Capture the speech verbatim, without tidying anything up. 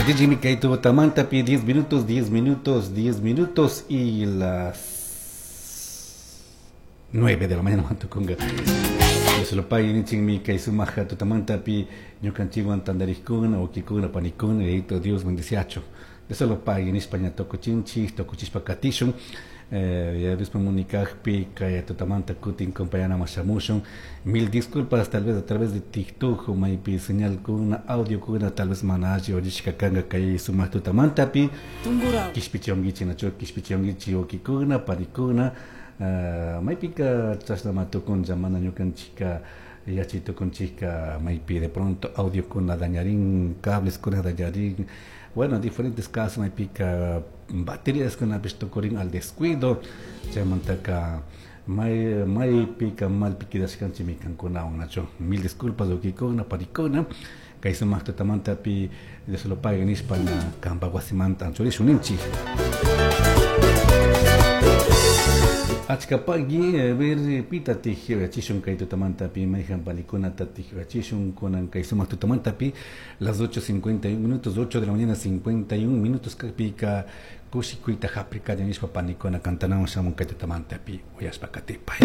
Jimmy Kaito Tamantapi, diez minutos, diez minutos, diez minutos y las nueve de la mañana tukunga. Dios lo pague nichikmi kay sumaja tutamantapi ñukanchikwan tantarikuna wawkikuna panikuna Yayito Dios bendiciacho. Dios lo pague nishpa ña tukuchinchik tukuchishpa katishun. Eh, ya Dios munikakpi kay tutamanta kutin compañana shamushun. Mil disculpas, tal vez a través de TikTok o maypi señal kuna audio kuna tal vez mana alli uyarishka kanka kay sumak tutamantapi. Kishpichionguichi nacho kishpichionguichi wawkikuna panikuna. Uh, maypika chashnama tukunlla mana ñukanchika yachay tukunchika maypi de pronto audio kuna dañarin, cables kuna dañarin, bueno, diferentes casos maypika baterías kunapish tukurin al descuido, chaymantaka may maypika malpi quedashkanchikmi kankunawan nacho. Mil disculpas wawkikuna panikuna kay sumak tutamantapi Dios lo pague nishpa ña kampa wasimanta anchurishun ninchik. Achkapagui ver pita tijachishun kay tutamantapi mayhan panikunata tijachishun kunan kay sumak tutamantapi las ocho cincuenta y un minutos, ocho de la mañana cincuenta y un minutos kakpika kushikuyta hapikalla nishpa panikuna cantanawan shamun kay tutamantapi uyashpa katipay.